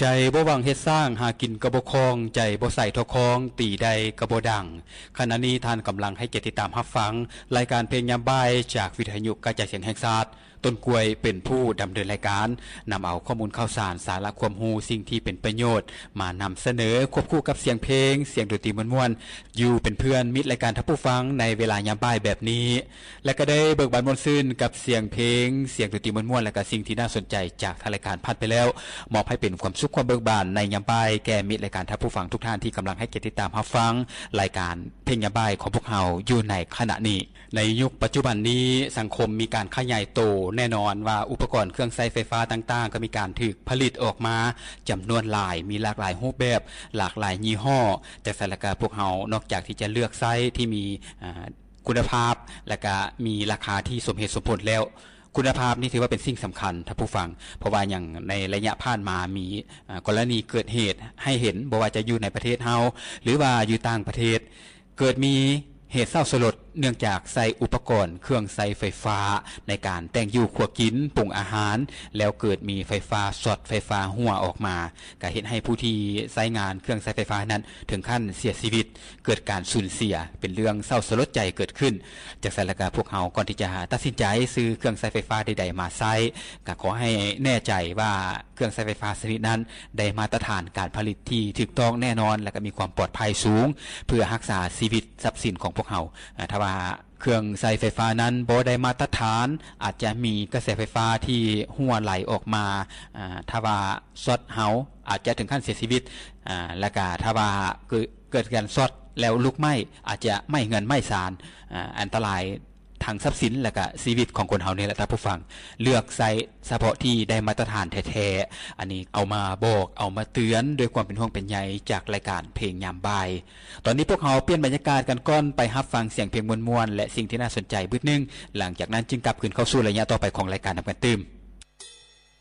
ໃຈບໍ່ຫວັງເຮັດສ້າງ ຫາກິນກໍບໍ່ຄ່ອງ ໃຈບໍ່ໃສ່ທໍ່ຄອງ ຕີໄດ້ກໍບໍ່ດັງ. ຂະນະນີ້ທ່ານກຳລັງໃຫ້ກຽດຕິດຕາມຮັບຟັງ ລາຍການເພງຍາມບ່າຍ ຈາກວິທະຍຸກະຈາຍສຽງແຫ່ງຊາດ. ຕົ້ນກ້ວຍເປັນຜູ້ດຳເນີນລາຍການ, ນຳເອົາຂໍ້ມູນຂ່າວສານ, ສາລະຄວາມຮູ້, ສິ່ງທີ່ເປັນປະໂຫຍດ ມານຳສະເໜີ ຄວບຄູ່ກັບສຽງເພງ, ສຽງດົນຕີມ່ວນໆ ຢູ່ເປັນເພື່ອນມິດລາຍການທ່ານຜູ້ຟັງ ໃນເວລາຍາມບ່າຍແບບນີ້. ແລະ ກໍໄດ້ເບີກບານມ່ວນຊື່ນກັບສຽງເພງ, ສຽງດົນຕີມ່ວນໆ ແລະ ກະສິ່ງທີ່ໜ້າສົນໃຈຈາກທາງລາຍການຜ່ານໄປແລ້ວ, ມອບໃຫ້ເປັນຄວາມສຸກຄວາມເບີກບານໃນຍາມບ່າຍ ແກ່ມິດລາຍການທ່ານຜູ້ຟັງທຸກທ່ານທີ່ກຳລັງໃຫ້ກຽດຕິດຕາມຮັບຟັງລາຍການເພງຍາມບ່າຍຂອງພວກເຮົາຢູ່ໃນຂະນະນີ້. ໃນຍຸກປັດຈຸບັນນີ້, ສັງຄົມມີການຂະຫຍາຍໂຕ, ແນ່ນອນວ່າອຸປະກອນເຄື່ອງໃຊ້ໄຟຟ້າຕ່າງໆ ກໍມີການຖືກຜະລິດອອກມາຈຳນວນຫຼາຍ, ມີຫຼາກຫຼາຍຮູບແບບ, ຫຼາກຫຼາຍຍີ່ຫໍ້. ຈັ່ງຊັ້ນລະກະພວກເຮົາ ນອກຈາກທີ່ຈະເລືອກໃຊ້ທີ່ມີ ອາ ຄຸນນະພາບ ແລະກະມີລາຄາທີ່ສົມເຫດສົມຜົນແລ້ວ, ຄຸນນະພາບນີ້ຖືວ່າເປັນສິ່ງສຳຄັນທ່ານຜູ້ຟັງ, ເພາະວ່າຫຍັງ ໃນໄລຍະຜ່ານມາມີ ອາ ກໍລະນີເກີດເຫດໃຫ້ເຫັນ, ບໍ່ວ່າຈະຢູ່ໃນປະເທດເຮົາ ຫຼືວ່າຢູ່ຕ່າງປະເທດ, ເກີດມີເຫດເສົ້າສະຫຼົດ ເນື່ອງຈາກໃຊ້ອຸປະກອນເຄື່ອງໃຊ້ໄຟຟ້າໃນການແຕ່ງຢູ່ຄົວກິນ, ປຸງອາຫານ, ແລ້ວເກີດມີໄຟຟ້າຊັອດ, ໄຟຟ້າຮົ່ວອອກມາ, ກະເຮັດໃຫ້ຜູ້ທີ່ໃຊ້ງານເຄື່ອງໃຊ້ໄຟຟ້ານັ້ນເຖິງຂັ້ນເສຍຊີວິດ. ເກີດການສູນເສຍ ເປັນເລື່ອງເສົ້າສະຫຼົດໃຈເກີດຂຶ້ນ. ຈັ່ງຊັ້ນລະກະພວກເຮົາ ກ່ອນທີ່ຈະຕັດສິນໃຈຊື້ເຄື່ອງໃຊ້ໄຟຟ້າໃດໆມາໃຊ້, ກະຂໍໃຫ້ແນ່ໃຈວ່າເຄື່ອງໃຊ້ໄຟຟ້າຊະນິດນັ້ນ ໄດ້ມາດຕະຖານການຜະລິດທີ່ຖືກຕ້ອງແນ່ນອນ ແລະກະມີຄວາມປອດໄພສູງ ເພື່ອຮັກສາຊີວິດຊັບສິນຂອງພວກເຮົາ. ອາ ຖ້າວ່າເຄື່ອງໃຊ້ໄຟຟ້ານັ້ນບໍ່ໄດ້ມາດຕະຖານ, ອາດຈະມີກະແສໄຟຟ້າທີ່ຮົ່ວໄຫຼອອກມາ, ອາ ຖ້າວ່າຊັອດເຮົາ ອາດຈະເຖິງຂັ້ນເສຍຊີວິດ, ອາ ແລະກະຖ້າວ່າເກີດ ເກີດການຊັອດແລ້ວລຸກໄໝ້ ອາດຈະໄໝ້ເຮືອນໄໝ້ຊານ, ອາ ອັນຕະລາຍທັງຊັບສິນ ແລະກະຊີວິດຂອງຄົນເຮົານີ້ແຫຼະທ່ານຜູ້ຟັງ. ເລືອກໃຊ້ສະເພາະທີ່ໄດ້ມາດຕະຖານແທ້ໆ. ອັນນີ້ເອົາມາບອກ, ເອົາມາເຕືອນດ້ວຍຄວາມເປັນຫ່ວງເປັນໃຍຈາກລາຍການເພງຍາມບ່າຍ. ຕອນນີ້ພວກເຮົາປ່ຽນບັນຍາກາດກັນກ່ອນ, ໄປຮັບຟັງສຽງເພງມ່ວນໆ ແລະ ສິ່ງທີ່ໜ້າສົນໃຈບຶດໜຶ່ງ, ຫຼັງຈາກນັ້ນຈຶ່ງກັບຄືນເຂົ້າສູ່ໄລຍະຕໍ່ໄປຂອງລາຍການນຳກັນຕື່ມ.